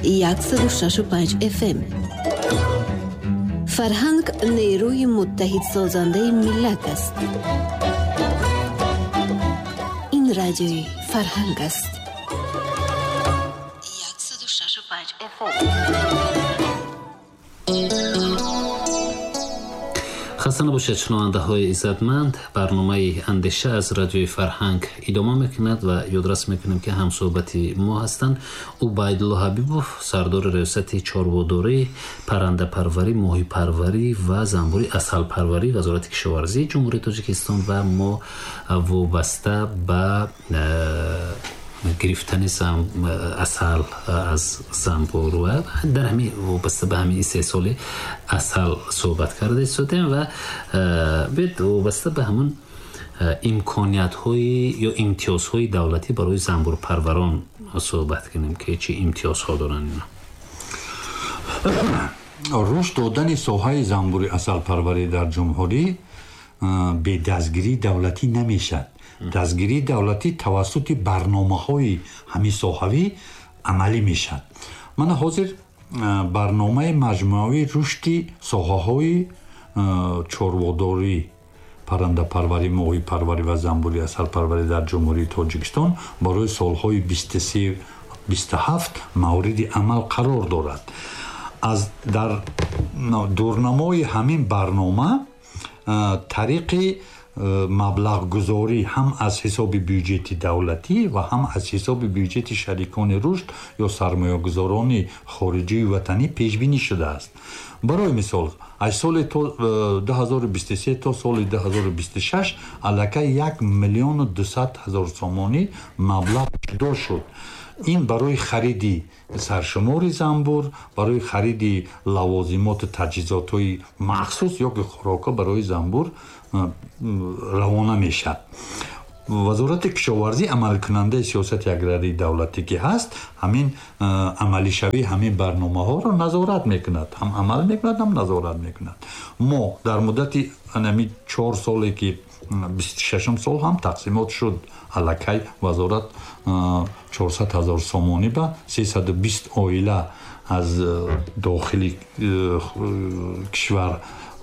106.5 FM. Фарҳанг нерӯи муттаҳидсозандаи миллат аст. Ин радиои Фарҳанг аст. 106.5 FM. Хаста набошед, шунавандаҳои иззатманд. Барномаи Андеша аз радиои Фарҳанг идома мекунад ва ёдрас мекунем, ки ҳамсӯҳбати мо ҳастанд Убайдулло Ҳабибов, сардори раёсати чорводорӣ, паррандапарварӣ, моҳипарварӣ ва занбури асалпарварӣ Вазорати кишоварзии Ҷумҳурии Тоҷикистон ва мо вобаста ба гирифтани асал аз занбур ва дар ҳамин вобаста ба ҳамин истеҳсоли асал суҳбат карда истодем ва биёед вобаста ба ҳамун имкониятҳои ё имтиёзҳои давлатӣ барои занбурпарварон суҳбат кунем, ки чӣ имтиёзҳо доранд ино. Рушд додани соҳаи занбури асалпарварӣ дар ҷумҳурӣ бе дастгирии давлатӣ намешавад. Дастгирии давлатӣ тавассути барномаҳои ҳамин соҳавӣ амалӣ мешавад. Мана ҳозир барномаи маҷмӯавии рушди соҳаҳои чорводорӣ, паррандапарварӣ, моҳипарварӣ ва занбури асалпарварӣ дар Ҷумҳурии Тоҷикистон барои солҳои 23-27 мавриди амал қарор дорад. Аз дар дурнамои ҳамин барнома тариқи маблағгузорӣ ҳам аз ҳисоби бюҷети давлатӣ ва ҳам аз ҳисоби бюҷети шарикони рушд ё сармоягузорони хориҷию ватанӣ пешбинӣ шудааст. Барои мисол, аз соли 2023 то соли 2026 аллакай 1 миллиону 200 ҳазор сомонӣ маблағ ҷудо шуд. Ин барои хариди саршумори занбур, барои хариди лавозимоту таҷҳизотҳои махсус ё ки хӯрокҳо барои занбур равона мешавад. Вазорати кишоварзӣ амалкунандаи сиёсати аграрии давлатӣ ки ҳаст, ҳамин амалишавии ҳамин барномаҳоро назорат мекунад, ҳам амал мекунад, ҳам назорат мекунад. Мо дар муддати ҳамин 4 соле ки 26 сол ҳам тақсимот шуд, аллакай вазорат 400 ҳазор сомонӣ ба 320 оила аз дохили кишвар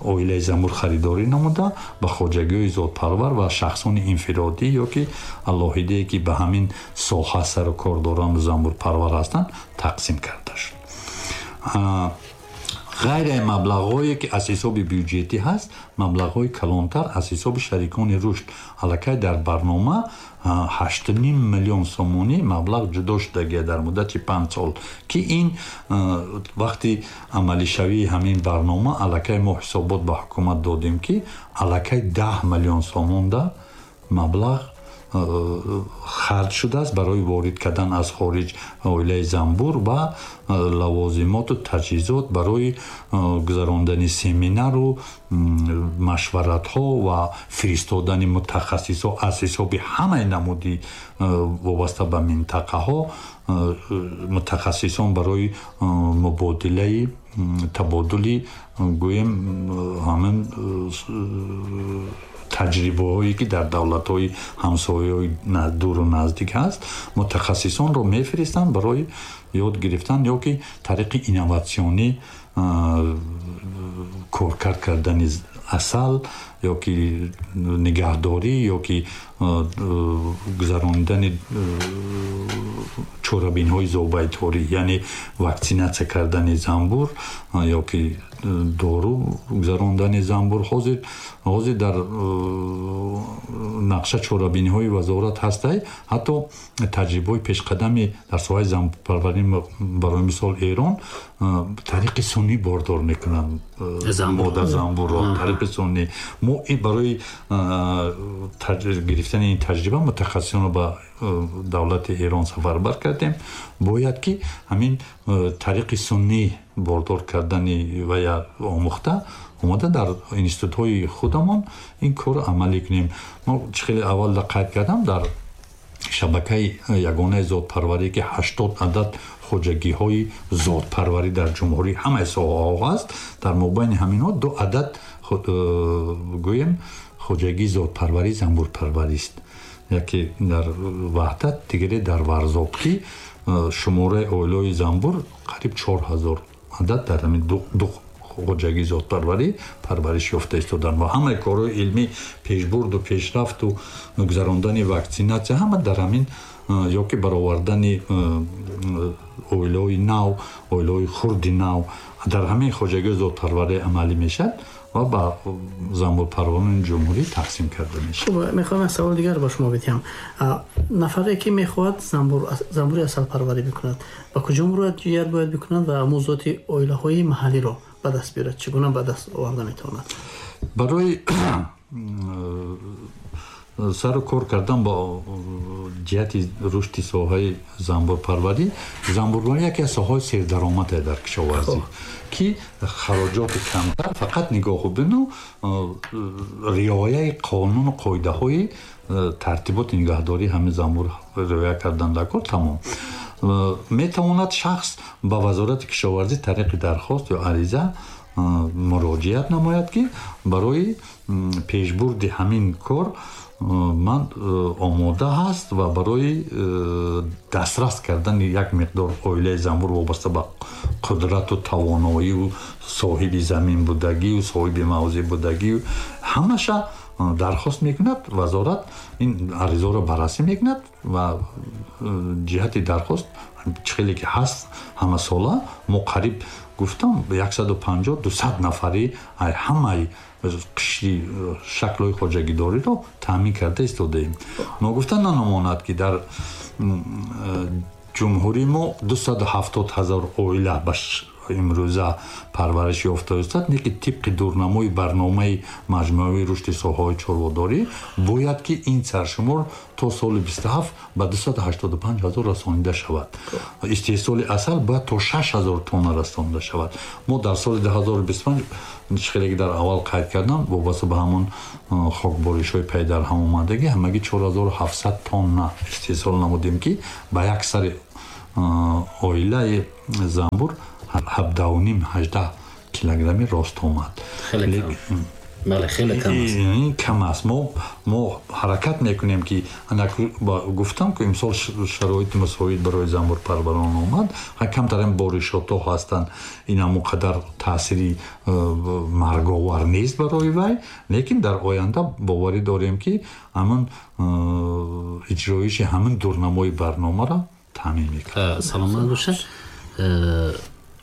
оилаи занбур харидорӣ намуда ба хоҷагиҳои зодпарвар ва шахсони инфиродӣ ё ки алоҳидае ки ба ҳамин соҳа сару кор доранд занбурпарвар ҳастанд тақсим карда шуд. Ғайри маблағҳое ки аз ҳисоби бюҷетӣ ҳаст, маблағҳои калонтар аз ҳисоби шарикони рушд аллакай дар барнома 8,5 миллион сомонӣ маблағ ҷудо шудагия дар муддати 5 сол, ки ин вақти амалишавии ҳамин барнома аллакай мо ҳисобот ба ҳукумат додем, ки аллакай 10 миллион сомонда маблағ харҷ шудааст барои ворид кардан аз хориҷ оилаи занбур ва лавозимоту таҷҳизот барои гузарондани семинару машваратҳо ва фиристодани мутахассисҳо аз ҳисоби ҳамаи намуди вобаста ба минтақаҳо мутахассисон барои мубодилаи табодули гӯем ҳамин таҷрибаҳое ки дар давлатҳои ҳамсояҳои дуру наздик ҳаст, мутахассисонро мефиристанд барои ёд гирифтан ё ки тариқи инноватсионӣ коркард кардани асал ё ки нигаҳдорӣ ё ки гузаронидани чорабинҳои зобайторӣ, яъне ваксинатсия кардани занбур ё ки дору гузарондани занбур. Ҳозир дар нақша чорабиниҳои вазорат ҳастай, ҳатто таҷрибаҳои пешқадами дар соҳаи занбурпарварӣ, барои мисол Эрон, тариқи суннӣ бордор мекунанд мода занбурро тариқи суннӣ. Мо барои гирифтани ин таҷриба мутахассисонро ба давлати Эрон сафарбар кардем. Бояд ки ҳамин тариқи суннӣ бордор кардани ва омӯхта омада дар институтҳои худамон ин корро амалӣ кунем. Мо чӣ хеле аввал қайд кардам, дар шабакаи ягонаи зодпарварӣ ки 80 адад хоҷагиҳои зодпарварӣ дар ҷумҳурӣ ҳамаи соҳаҳо ҳаст, дар мобайни ҳаминҳо 2 адад гӯем хоҷагии зодпарварӣ занбурпарварист, яке дар Ваҳдат, дигаре дар Варзоб, ки Шумораи оилаҳои занбур қариб 4000 адад дар ҳамин ду хоҷагии зотпарварӣ парвариш ёфта истоданд ва ҳамаи корҳои илмӣ, пешбурду пешрафту гузарондани ваксинатсия ҳама дар ҳамин ё ки баровардани оилаҳои нав, оилаҳои хурди нав дар ҳамин хоҷагии зотпарварӣ амалӣ мешавад ва ба занбурпарварони ҷумҳурӣ тақсим карда мешавад. Хуб, мехоҳам як савол дигар ба шумо бидиҳам. Нафаре ки мехоҳад занбури асалпарварӣ бикунад, ба куҷо муроҷиат бояд бикунад ва мавзӯоти оилаҳои маҳаллиро ба даст биёрад? Чӣ гуна ба даст оварда метавонад? Барои сару кор кардан бо ҷиҳати рушди соҳаи занбурпарварӣ, занбурпарварӣ яке аз соҳаҳои сердаромад дар кишоварзӣ, ки хароҷоти камтар, фақат нигоҳу бину риояи қонуну қоидаҳои тартиботи нигаҳдории ҳамин занбур риоя кардан дар кор тамом. Метавонад шахс ба Вазорати кишоварзӣ тариқи дархост ё ариза муроҷиат намояд, ки барои пешбурди ҳамин кор ман омода ҳаст ва барои дастрас кардани як миқдор оилаи занбур вобаста ба қудрату тавоноию соҳиби замин будагию соҳиби мавзеъ будагию ҳамаша дархост мекунад. Вазорат ин аризаро баррасӣ мекунад ва ҷиҳати дархост чӣ хеле ки ҳаст, ҳамасола мо қариб гуфтам 150-200 нафари ҳамаи қишри шаклҳои хоҷагидориро таъмин карда истодаем. Ногуфта намонад, ки дар ҷумҳурии мо 270 ҳазор оила ба имрӯза парвариш ёфта истад, лекин тибқи дурнамои барномаи маҷмӯаи рушди соҳаҳои чорводорӣ бояд ки ин саршумор то соли 27 ба 285 ҳазор расонида шавад. Истеҳсоли асал бояд то 6 ҳазор тонна расонида шавад. Мо дар соли 2025, хеле ки дар аввал қайд кардам, вобаста ба ҳамон хокборишҳои пай дар ҳам омадагӣ, ҳамагӣ 4700 тонна истеҳсол намудем, ки ба як сари оилаи занбур 17.5-18 килограмми рост омад. Бале, хеле кам аст. Ин кам аст. Мо ҳаракат мекунем, ки гуфтам, ки имсол шароити мусоид барои занбурпарварон омад, камтарин боришотҳо ҳастанд, ин ҳамон қадар таъсири марговар нест барои вай, лекин дар оянда боварӣ дорем, ки ҳамин иҷроиши ҳамин дурнамои барномаро таъмин мекунад. Саломат бошад.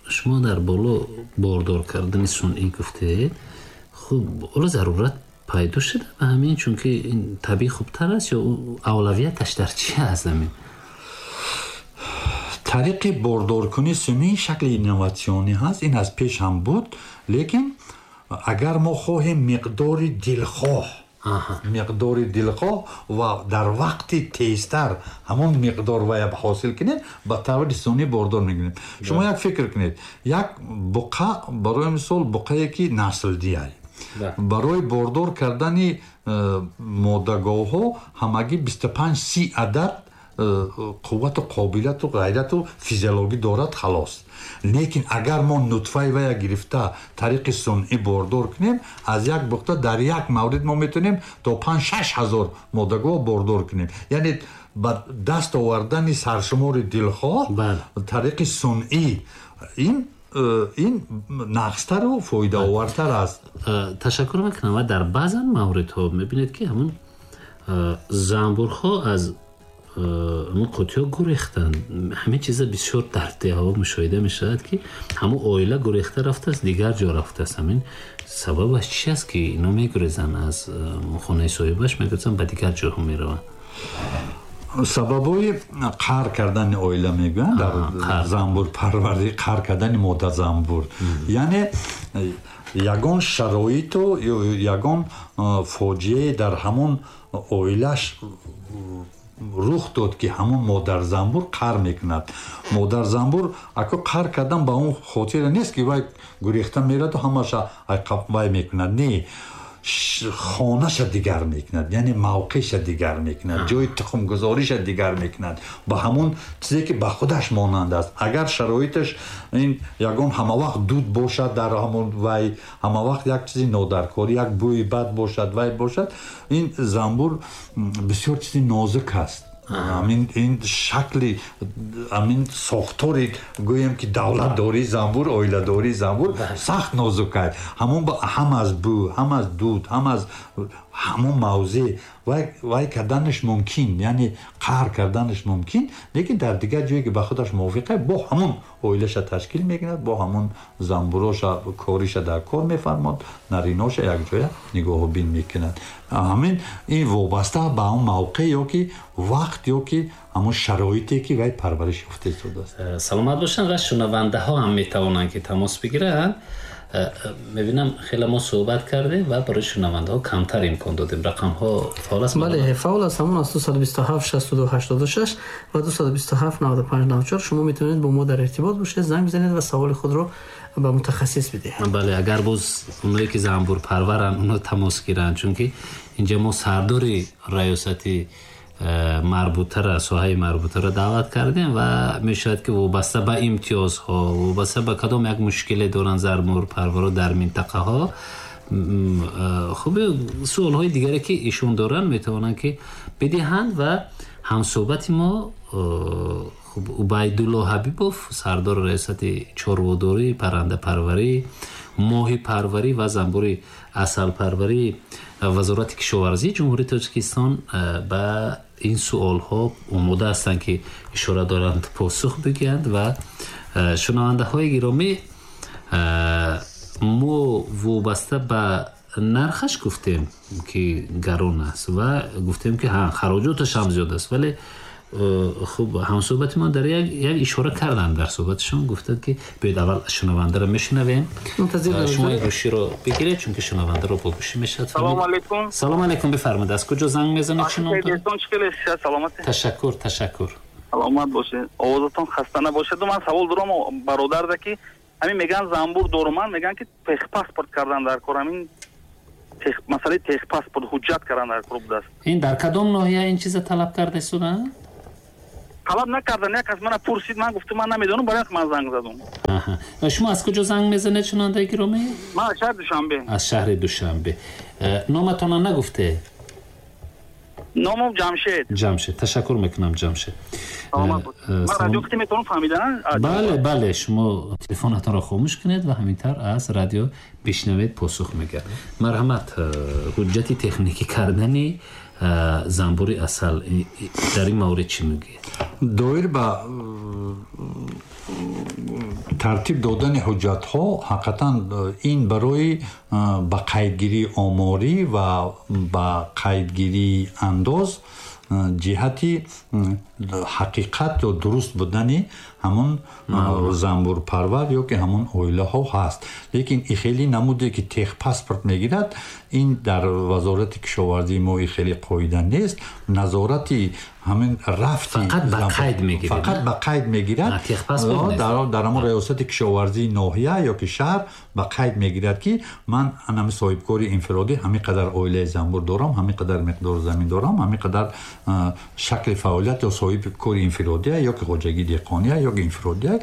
Шумо дар боло бордор кардани сунъӣ гуфтед. Хуб, ҳоло зарурат пайдо шуда ба ҳамин, чунки ин табиӣ хубтар аст ё авлавияташ дар чи аст ҳамин? Тариқи бордоркунии сунъӣ шакли инноватсионӣ ҳаст, ин аз пеш ҳам буд, лекин агар мо хоҳем миқдори дилхоҳ ва дар вақти тезтар ҳамон миқдор вая ҳосил кунем, ба таври сунъӣ бордор мекунем. Шумо як фикр кунед: як буқа, барои мисол, буқае ки наслдиай, барои бордор кардани модаговҳо ҳамагӣ 25-30 адад қуввату қобилияту ғайрату физиологӣ дорад, халос. Лекин агар мо нутфаи вая гирифта тариқи сунъӣ бордор кунем, аз як буқта дар як маврид мо метавонем то 5-6 ҳазор модагов бордор кунем, яъне ба даст овардани саршумори дилхоҳ тариқи сунъӣ ин нағзтару фоидаовартар аст. Ташаккур мекунам. Ва дар баъзан мавридҳо мебинед, ки ҳамун занбурҳо аз ҳамун қутиҳо гурехтанд. Ҳамин чиза бисёр дар деҳаҳо мушоҳида мешавад, ки ҳамун оила гурехта рафтааст, дигар ҷо рафтааст. Ҳамин сабабаш чи аст, ки ино мегурезанд, аз хонаи соҳибаш мегурезанд, ба дигар ҷоҳо мераванд? Сабабҳои қаҳр кардани оила мегӯянд дар занбурпарварӣ, қаҳр кардани модазанбур, яъне ягон шароиту ягон фоҷиае дар ҳамон оилаш рух дод, ки ҳамон модарзанбур қаҳр мекунад. Модарзанбур ако қаҳр кардан ба он хотире нест, ки вай гурехта мераду ҳамаша вай мекунад. Не, хонаша дигар мекунад, яъне мавқеъша дигар мекунад, ҷои тухмгузориша дигар мекунад ба ҳамон чизе, ки ба худаш монанд аст. Агар шароиташ ин ягон ҳамавақт дуд бошад дар ҳамон вай, ҳамавақт як чизи нодаркорӣ, як бӯи бад бошад, вай бошад, ин занбур бисёр чизи нозук аст. Ҳамин ин шакли ҳамин сохтори, гӯем ки давлатдории занбур, оиладории занбур сахт нозук аст. Ҳамон ҳам аз бӯ, ҳам аз дуд, ҳам аз ҳамон мавзеъ вай карданаш мумкин, яъне қаҳр карданаш мумкин, лекин дар дигар ҷое ки ба худаш мувофиқ аст, бо ҳамон оилаша ташкил мекунад, бо ҳамон занбуроша кориша дар кор мефармод, нариноша якҷоя нигоҳубин мекунад. Ҳамин ин вобаста ба ҳамон мавқеъ ё ки вақт ё ки ҳамон шароите ки вай парвариш ёфта истодааст. Саломат бошанд ва шунавандаҳо ҳам метавонанд ки тамос бигиранд. Мебинам хеле мо суҳбат кардем ва барои шунавандаҳо камтар имкон додем. Рақамҳо фаъол аст? Бале, фаъол аст. Ҳамон аз 227 62 86 ва 227 95 94. Шумо метавонед бо мо дар иртибот бошед, занг бизанед ва саволи худро ба мутахассис бидиҳед. Бале, агар боз оное ки занбурпарваранд, онҳо тамос гиранд, чунки инҷа мо сардори раёсати марбутара, соҳаи марбутаро даъват кардем ва мешавад ки вобаста ба имтиёзҳо, вобаста ба кадом як мушкиле доранд занбурпарваро дар минтақаҳо, хуб суолҳои дигаре ки ишон доранд метавонанд ки бидиҳанд. Ва ҳамсӯҳбати мо хуб Убайдулло Ҳабибов, сардори раёсати чорводорӣ, паррандапарварӣ, моҳипарварӣ ва занбури асалпарварии Вазорати кишоварзии Ҷумҳурии Тоҷикистон, ба ин суолҳо омода ҳастанд ки ишора доранд посух бигӯянд. Ва шунавандаҳои гиромӣ, мо вобаста ба нархаш гуфтем ки гарон аст ва гуфтем ки хароҷоташ ҳам зиёд аст, вале хуб ҳамсӯҳбати мо дар як ишора карданд дар суҳбаташон, гуфтанд ки биёед аввал шунавандаро мешунавем. Шумо гӯширо бигиред, чунки шунавандаро бо гӯшӣ мешавад. Салом алейкум. Салом алейкум, бифармоед, аз куҷо занг мезанед? Чӣ ном доред? Ташаккур, ташаккур. Саломат бошед, овозатон хаста набошед. Ман савол дорам бародарда ки ҳамин мегӯянд занбур доруман, мегӯянд ки техпаспорт кардан дар кор, ҳамин масъалаи техпаспорт ҳуҷҷат кардан дар кор будааст. Ин дар кадом ноҳия ин чиза талаб карда истоданд? Талаб накардан, як кас мана пурсид, ман гуфтам ман намедонам, барои ман занг задам. Аҳа. Ва шумо аз куҷо занг мезанед, шунавандаи гиромӣ? Ман аз шаҳри Душанбе. Аз шаҳри Душанбе. Номатонро нагуфте? Номам Ҷамшед. Ҷамшед. Ташаккур мекунам, Ҷамшед. Саломат бошед. Ман радио ки метавонам фаҳмидан? Бале, бале, шумо телефонатонро хомӯш кунед ва ҳамин тавр аз радио бишнавед, посух мегӯяд. Марҳамат, ҳуҷҷати техникӣ кардани занбури асал дар ин маврид чӣ мегӯед? Доир ба тартиб додани ҳуҷҷатҳо, ҳақиқатан ин барои ба қайдгирии оморӣ ва ба қайдгирии андоз ҷиҳати ҳақиқат ё дуруст будани ҳамон занбурпарвар ё ки ҳамон оилаҳо ҳаст. Лекин и хеле намуде ки техпаспорт мегирад, ин дар Вазорати кишоварзии мо и хеле қоида нест. Назорати ҳамин рафти фақат ба қайд мегирад, фақат ба қайд мегирад. Дар ҳамон раёсати кишоварзии ноҳия ё ки шаҳр ба қайд мегирад ки ман ҳамин соҳибкори инфиродӣ ҳамин қадар оилаи занбур дорам, ҳамин қадар миқдор замин дорам, ҳамин қадар шакли фаъолият ё соҳибкори инфиродия ё ки хоҷагии деҳқония ё ки инфиродия.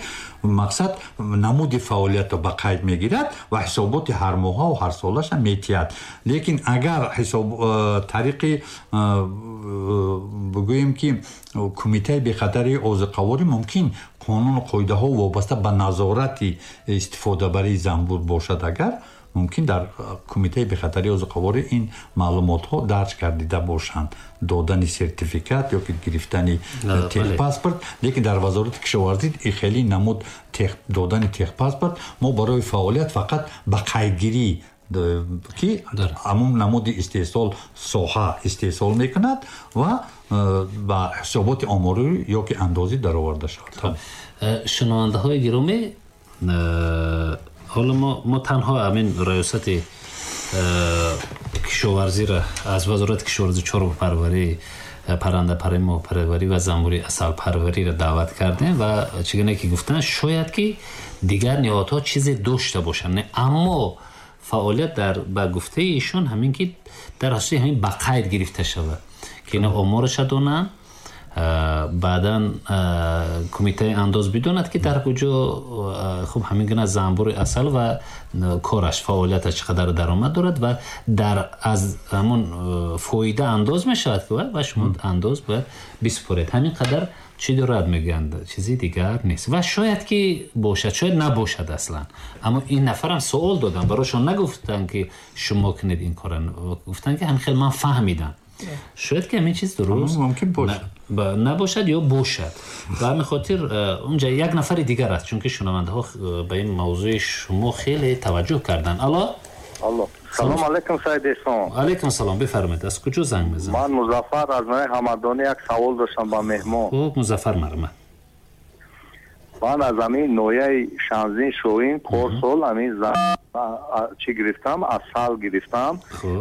Мақсад намуди фаъолиятро ба қайд мегирад ва ҳисоботи ҳармоҳа ва ҳарсолаша метиҳад. Лекин агар ҳисоб тариқи бигӯем ки кумитаи бехатарии озуқаворӣ мумкин қонуну қоидаҳо вобаста ба назорати истифодабарии занбур бошад, агар мумкин дар кумитаи бехатарии озуқаворӣ ин маълумотҳо дарҷ гардида бошанд, додани сертификат ё ки гирифтани техпаспорт. Лекин дар Вазорати кишоварзӣ хеле намуд додани техпаспорт мо барои фаъолият фақат ба қайдгирӣ ки ҳамон намуди истеҳсол соҳа истеҳсол мекунад ва ба ҳисоботи оморӣ ё ки андозӣ дароварда шавад. Шунавандаҳои гиромӣ, ҳоло мо танҳо ҳамин раёсати кишоварзиро аз Вазорати кишоварзӣ, чорвопарварӣ, паррандапарварӣ, моҳипарварӣ ва занбури асалпарвариро даъват кардем ва чӣ гуна ки гуфтанд, шояд ки дигар ниҳодҳо чизе дошта бошанд, аммо фаъолият дар ба гуфтаи ишон ҳамин ки дар асоси ҳамин ба қайд гирифта шавад ки ина омораша донанд Баъдан кумитаи андоз бидонад, ки дар куҷо хуб ҳамин гуна занбури асал ва кораш, фаъолияташ чӣ қадар даромад дорад ва дар аз ҳамон фоида андоз мешавад, ки ва шумо андоз бояд бисупоред. Ҳамин қадар чӣ дорад, мегӯянд, чизи дигар нест. Ва шояд ки бошад, шояд набошад аслан. Аммо ин нафарам суол додам, барошон нагуфтанд, ки шумо кунед ин кора, гуфтанд, ки ҳамин хел ман фаҳмидам. Шояд ки ҳамин чиз дуруст мумкин бошад, набошад ё бошад. Ба ҳамин хотир унҷа як нафари дигар аст, чунки шунавандаҳо ба ин мавзӯи шумо хеле таваҷҷӯҳ карданд. Алло. Алло, салом алейкум, Саид Эҳсон. Алейкум салом, бифармоед, аз куҷо занг мезанед? Ман Музаффар аз ноҳияи Ҳамадонӣ, як савол доштам ба меҳмон. Хуб, Музаффар, марҳамат. Ман аз ҳамин ноҳияи Шанзин Шоҳин порсол ҳамин чӣ гирифтам, асал гирифтам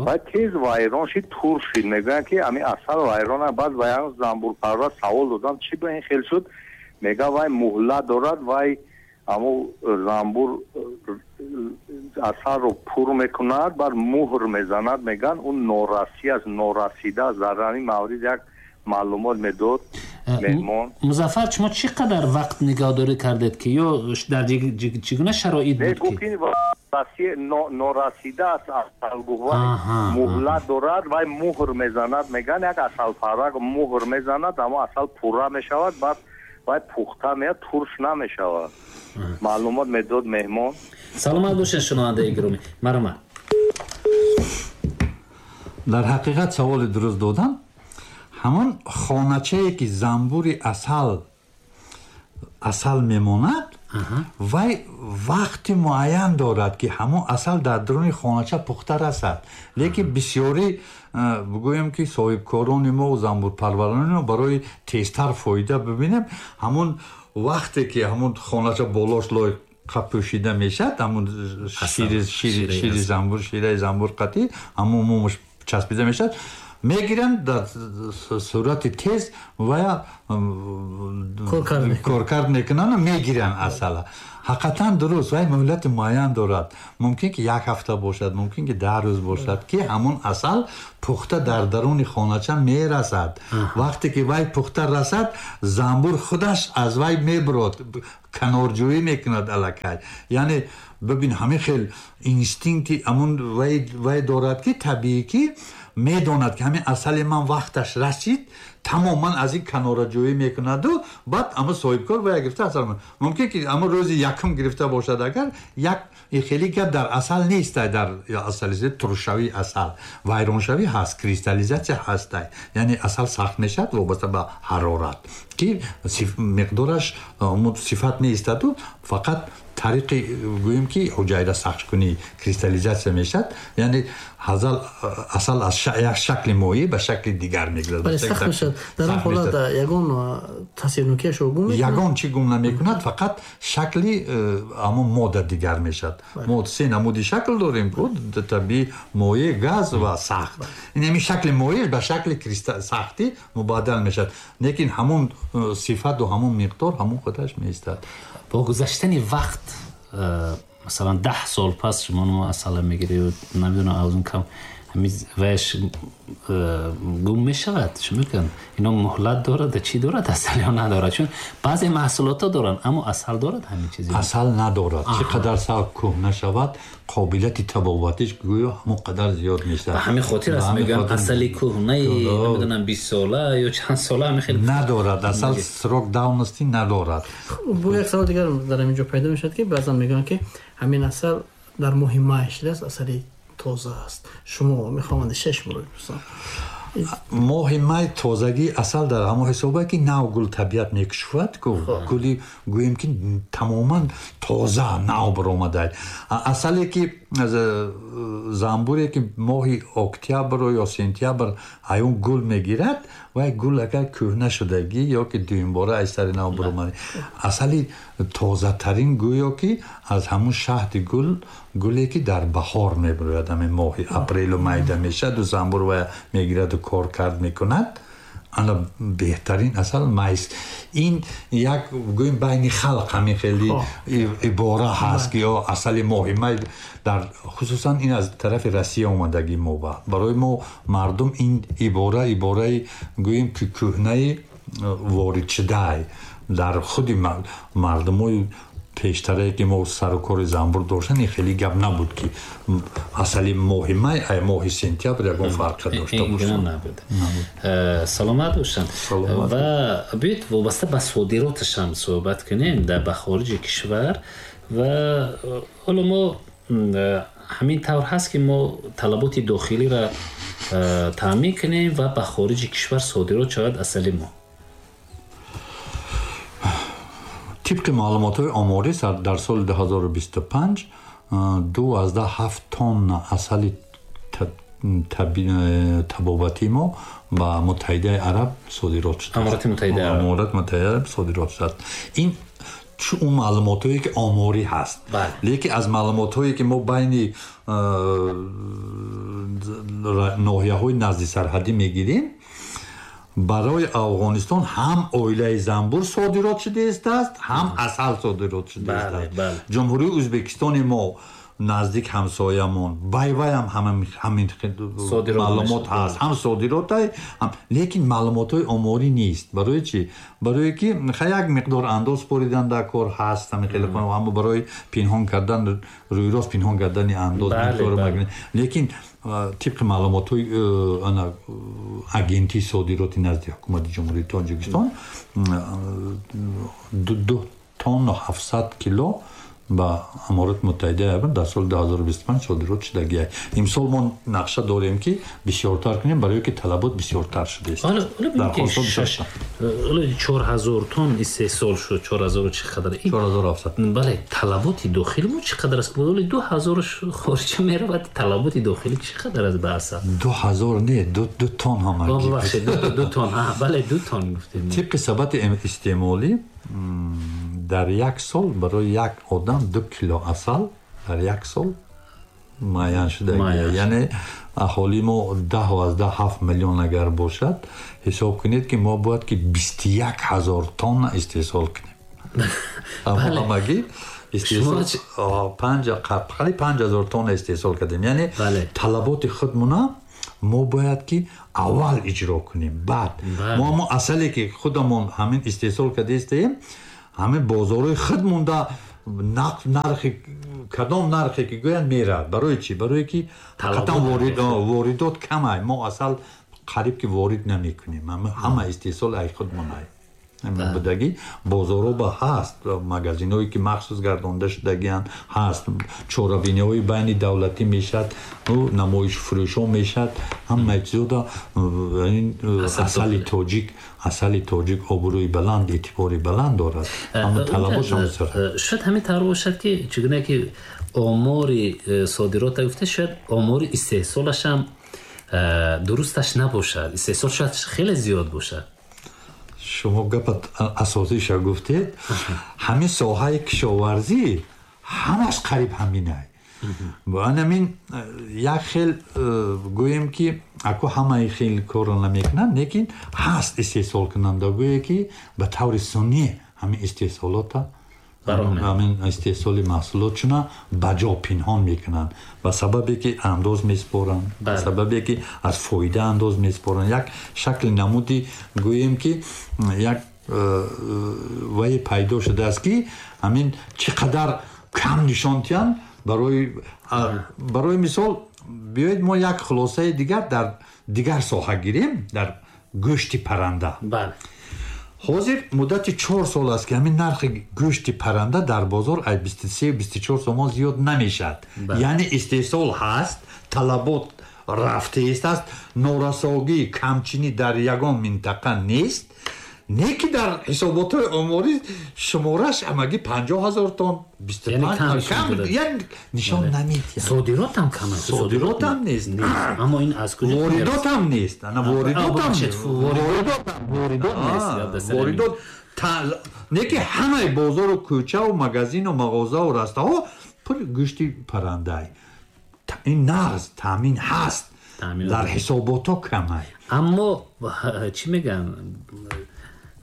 ва тез вайрон шид, тур шид. Мегӯянд, ки ҳамин асал вайрона. Баъд ба як занбурпарвар савол додам, чӣ ба ин хел шуд? Мега, вай муҳлат дорад, вай аммо занбур асалро пур мекунад, баъд муҳр мезанад. Мегӯянд, он норасӣ аст, норасида аст. Дар ҳамин маврид як маълумот медод меҳмон. Музаффар, шумо чӣ қадар вақт нигаҳдорӣ кардед, ки ё дар чӣ гуна шароит буд, ки норасида аст асал? Гуфт, муҳлат дорад, вай муҳр мезанад. Мегӯянд, як асалпарвар муҳр мезанад, аммо асал пурра мешавад, баъд вай пухта меяд, турш намешавад. Маълумот медод меҳмон. Саломат бошед, шунавандаи гиромӣ, марҳамат. Дар ҳақиқат саволи дуруст додам. Ҳамон хоначае, ки занбури асал мемонад, вай вақти муайян дорад, ки ҳамон асал дар даруни хонача пухта расад. Лекин бисёрӣ, бигӯем, ки соҳибкорони мо, занбурпарварони мо барои тезтар фоида бибинем, ҳамон вақте ки ҳамон хонача болош лойқа пӯшида мешавад, ҳамон шири занбур, шираи занбур қатӣ ҳамон мумаш часпида мешавад, мегиранд, дар сурати тез ва коркард мекунанд, мегиранд асала. Ҳақиқатан дуруст, вай муҳлати муайян дорад. Мумкин ки як ҳафта бошад, мумкин ки 10 рӯз бошад, ки ҳамон асал пухта дар даруни хонача мерасад. Вақте ки вай пухта расад, занбур худаш аз вай мебурод, канорҷӯӣ мекунад аллакай. Яъне бибин, ҳамин хел инстинкти ҳамон вай дорад, ки табиӣ, ки медонад, ки ҳамин асали ман вақташ расид, тамоман аз ин канораҷӯӣ мекунаду баъд ама соҳибкор вая гирифта асал. Мумкин ки ама рӯзи якум гирифта бошад. Агар як хеле гап дар асал нестай, дар асали туршавии асал вайроншавӣ ҳаст, кристаллизатсия ҳастай, яъне асал сахт мешавад вобаста ба ҳарорат, ки миқдораш сифат меистаду фақат тариқи, гӯем, ки ҳуҷайра сахткунӣ кристаллизатсия мешавад, яъне асал аз як шакли моеъ ба шакли дигар мегузарад. Дар он ҳолат ягон таъсирнокиашро гум мекунад? Ягон чӣ гум намекунад, фақат шакли ҳамон модда дигар мешавад. Мо се намуди шакл дорем ку табиӣ: моеъ, газ ва сахт. Ин ҳамин шакли моеъ ба шакли сахтӣ мубаддал мешавад, лекин ҳамон сифату ҳамон миқдор ҳамон худаш меистад. Бо гузаштани вақт, масалан, 10 сол пас шумо асала мегиред, намедонам, аз он кам, ваяш гум мешавад? Чӣ мекунанд? Ино муҳлат дорад, чӣ дорад асал ё надорад? Чун баъзе маҳсулотҳо доранд, аммо асал дорад ҳамин чизи? Асал надорад. Чӣ қадар сал кӯҳна шавад, қобилияти табобатиш гӯё ҳамон қадар зиёд мешавад. Ба ҳамин хотир аст, мегӯям, асали кӯҳнаи, намедонам, 20 сола ё чанд сола, ҳамин хел. Надорад асал, срок давности надорад. Бо як савол дигар дар ҳамин ҷо пайдо мешавад, ки баъзан мегӯянд, ки ҳамин асал дар моҳи май шидааст, асали тоза аст. Шумо мехоҳам андешаи шуморо бипурсам. Моҳи май тозагии асал дар ҳамон ҳисобе, ки нав гул табиат мекушояд, ку гули, гӯем, ки тамоман тоза нав баромада. Асале ки занбуре, ки моҳи октябру ё сентябр аюн гул мегирад, вай гул агар кӯҳна шудагӣ ё ки дуюмбора аз сари нав баромада, асали тозатарин гӯё ки аз ҳамун шаҳди гул, гуле ки дар баҳор мебарояд, ҳамин моҳи апрелу майда мешаду занбур вая мегираду коркард мекунад, ана беҳтарин асал майст. Ин як, гӯем, байни халқ ҳамин хеле ибора ҳаст, ки ё асали моҳи май, дар хусусан ин аз тарафи Россия омадагӣ мо барои мо мардум ин ибора, ибораи, гӯем, ки кӯҳнаи ворид шудаи дар худи мардумои пештарае ки мо сару кори занбур доштан, ин хеле гап набуд ки асали моҳи май ай моҳи сентябр ягон фарқе дошта бошад. Набуд. Саломат бошанд. Ва биёед вобаста ба содироташ ҳам суҳбат кунем дар ба хориҷи кишвар. Ва ҳоло мо ҳамин тавр ҳаст ки мо талаботи дохилиро таъмин кунем ва ба хориҷи кишвар содирот шавад асали мо. Тибқи маълумотҳои оморӣ дар соли 2025 2,7 тонна асали табобатии мо ба Муттаҳидаи Араб содирот шудааст. Аморати Муттаҳидаи Араб. Аморати Муттаҳидаи Араб содирот шудааст. Ин он маълумотҳое ки оморӣ ҳаст. Лекин аз маълумотҳое ки мо байни ноҳияҳои назди сарҳадӣ мегирем, барои Афғонистон ҳам оилаи занбур содирот шудааст, ҳам асал содирот шудааст. Ҷумҳурии Ӯзбекистони мо наздик ҳамсоямон, байвай ҳам ҳамин маълумот ҳаст, ҳам содиротай, лекин маълумотҳои оморӣ нест. Барои чӣ? Барое ки як миқдор андоз споридан дар кор ҳаст, ҳамин хеле, аммо барои пинҳон кардан, рӯйрост пинҳон кардани андоз ин корро мекунанд. Лекин тибқи маълумотҳои агентии содироти назди ҳукумати Ҷумҳурии Тоҷикистон 2 тонна 700 кило ба Аморати Муттаҳидаи Араб дар соли 2025 содирот шудагиай. Имсол мо нақша дорем ки бисёртар кунем, барое ки талабот бисёртар шудааст. Ҳоло 4000 тонн истеҳсол шуд, 4000 чӣ қадар? 4700. Бале, талаботи дохили мо чӣ қадар аст? Ҳоло 2000 хориҷа меравад, талаботи дохилӣ чӣ қадар аст ба асал? 2000 не, 2 тонн ҳамагӣ. Бубахшед, 2 тонн. Бале, 2 тонн гуфтем. Тибқи сабати истеъмолӣ дар як сол барои як одам 2 кило асал дар як сол муайян шуда. Яъне аҳолии мо 10,7 миллион агар бошад, ҳисоб кунед ки мо бояд ки 21 ҳазор тонна истеҳсол кунем. Ҳамагӣ истеҳсол 5000 тонна истеҳсол кардем. Яъне талаботи худмона мо бояд ки аввал иҷро кунем, баъд мо ҳамон асале ки худамон ҳамин истеҳсол кардаистаем, ҳамин бозорҳои худ монда нархи кадом нархе ки гӯянд меравад. Барои чӣ? Барое ки ҳақиқатан воридот камай. Мо асал қариб ки ворид намекунем, ҳама истеҳсол ай худмонай будагӣ. Бозорҳо ба ҳаст, магазинҳое ки махсус гардонда шудагианд ҳаст, чорабиниҳои байни давлатӣ мешавад, намоишфурӯшҳо мешавад, ҳамаи чизода асали тоҷик, асали тоҷик обрӯи баланд, эътибори баланд дорад. Аммо талаботш ҳам бисёр. Шояд ҳамин тавр бошад ки чигуна ки омори содирота гуфта, шояд омори истеҳсолаш ҳам дурусташ набошад, истеҳсол шояд хеле зиёд бошад. Шумо гапат асосиша гуфтед. Ҳамин соҳаи кишоварзӣ ҳамаш қариб ҳаминай. Анамин як хел гӯем ки аку ҳамаи хел корро намекунанд, лекин ҳаст истеҳсолкунандагое ки ба таври сунъӣ ҳамин истеҳсолота, ҳамин истеҳсоли маҳсулотшуна ба ҷо пинҳон мекунанд, ба сабабе ки андоз меспоранд, ба сабабе ки аз фоида андоз меспоранд. Як шакли намуди гӯем ки як вае пайдо шудааст ки ҳамин чӣ қадар кам нишон диҳанд. Барои мисол биёед мо як хулосаи дигар дар дигар соҳа гирем, дар гӯшти парранда. Ҳозир муддати 4 сол аст ки ҳамин нархи гӯшти парранда дар бозор аз 23-24 сомон зиёд намешавад. Яъне истеҳсол ҳаст, талабот рафтааст, норасогӣ, камчинӣ дар ягон минтақа нест, не ки дар ҳисоботҳои оморӣ шумораш ҳамагӣ 50 ҳазор тонн, 25 кам, яъне нишон намедиҳад. Содирот ҳам кам аст. Содирот ҳам нест. Аммо ин аз куҷо? Воридот ҳам нест. Ана воридот ҳам нест. Воридот нест. Воридот не ки ҳамаи бозору кӯчаву магазину мағозаву растаҳо пур гӯшти паррандай. Ин нағз таъмин ҳаст, дар ҳисоботҳо камай. Аммо чӣ мегӯянд,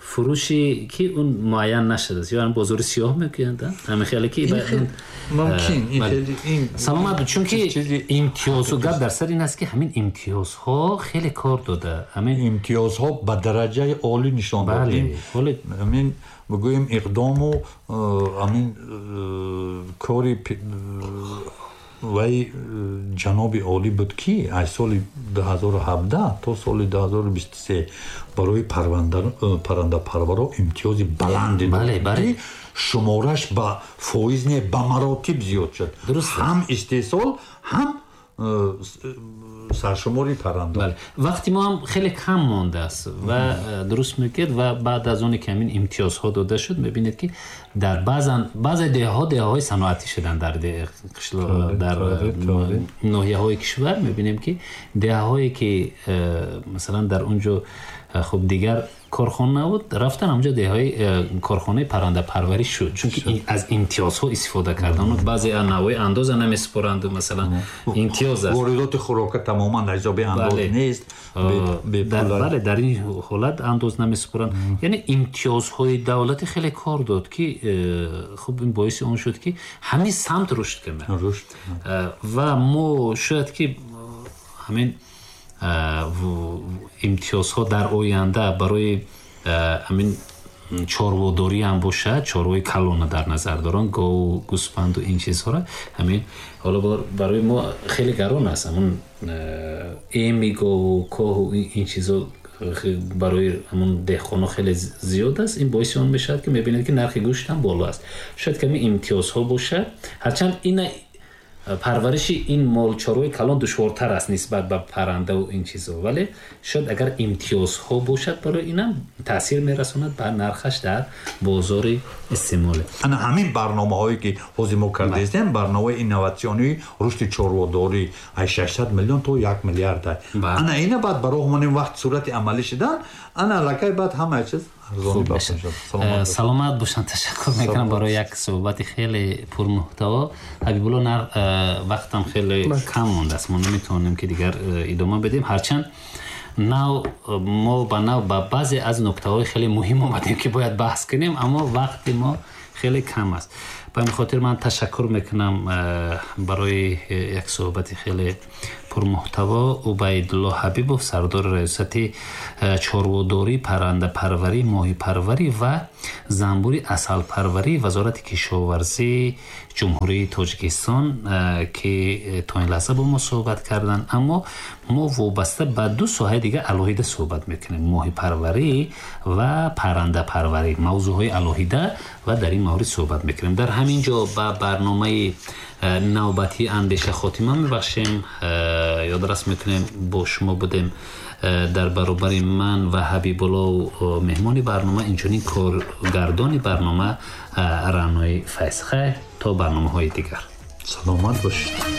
Фурӯши ки он муайян нашудааст ё бозори сиёҳ мегӯянд, ҳамин хеле ки мумкин. Саломат, чунки имтиёзу гап дар сар ин аст, ки ҳамин имтиёзҳо хеле кор дода. Ҳамин имтиёзҳо ба дараҷаи олӣ нишон додем. Ҳамин бигӯем, иқдому ҳамин кори вай ҷаноби олӣ буд, ки аз соли 2017 то соли 2023 барои паррандапарваро имтиёзи баланде дод, ки шумораш ба фоиз не, ба маротиб зиёд шуд, ҳам истеҳсол, ҳам саршумори парранда. Вақти мо ҳам хеле кам мондааст ва дуруст мегӯед. Ва баъд аз оне ки ҳамин имтиёзҳо дода шуд, мебинед, ки дар баъзе деҳаҳо деҳаҳои саноатӣ шуданд. Дар ноҳияҳои кишвар мебинем, ки деҳаҳое ки масалан дар он ҷо хуб дигар корхона набуд, рафтан ҳамҷо деҳаҳои корхонаи паррандапарварӣ шуд, чунки аз имтиёзҳо истифода кардан. Баъзе навъҳои андоза намесупоранд, масалан, имтиёз аст. Воридоти хӯрока тамоман ҳисоби андоз нест. Бале, дар ин ҳолат андоз намесупоранд. Яъне имтиёзҳои давлатӣ хеле кор дод, ки хуб ин боиси он шуд, ки ҳамин самт рушд кунад. Ва мо шояд ки ҳамин имтиёзҳо дар оянда барои ҳамин чорводорӣ ҳам бошад. Чорвои калона дар назар дорам, гову гӯспанду ин чизҳоро. Ҳамин ҳоло барои мо хеле гарон аст ҳамун эми гову коҳу ин чизҳо, барои ҳамун деҳқоно хеле зиёд аст. Ин боиси он мешавад, ки мебинед, ки нархи гӯшт ҳам боло аст. Шояд ками имтиёзҳо бошад, ҳарчанд ина парвариши ин молчорвои калон душвортар аст нисбат ба паррандаву ин чизҳо, вале шояд агар имтиёзҳо бошад, барои инам таъсир мерасонад ба нархаш дар бозори истеъмолӣ. Ана ҳамин барномаҳое ки ҳозир мо кардаистем, барномаи инноватсионии рушди чорводорӣ аз 600 миллион то 1 миллиард, ана ина баъд ба роҳ монем, вақт сурати амалӣ шидан, ана аллакай баъд ҳамаи чиз. Саломат бошанд. Ташаккур мекунам барои як суҳбати хеле пурмуҳтаво. Ҳабибулло, вақтам хеле кам мондааст, мо наметавонем, ки дигар идома бидем, ҳарчанд нав мо ба нав ба баъзе аз нуктаҳои хеле муҳим омадем, ки бояд баҳс кунем, аммо вақти мо хеле кам аст. Ба ҳамин хотир ман ташаккур мекунам барои як суҳбати хеле пурмуҳтаво Убайдулло Ҳабибов, сардори раёсати чорводорӣ, паррандапарварӣ, моҳипарварӣ ва занбури асалпарварӣ Вазорати кишоварзии Ҷумҳурии Тоҷикистон, ки то ин лаҳза бо мо суҳбат карданд. Аммо мо вобаста ба ду соҳаи дигар алоҳида суҳбат мекунем: моҳипарварӣ ва паррандапарварӣ, мавзӯъҳои алоҳида, ва дар ин маврид суҳбат мекунем. Дар ҳамин ҷо ба барномаи навбатии «Андеша» хотима мебахшем. Ёдрас мекунем, бо шумо будем дар баробари ман ва Ҳабибулло меҳмони барнома, инчунин коргардони барнома Раънои Файз. Хайр, то барномаҳои дигар. Саломат бошед.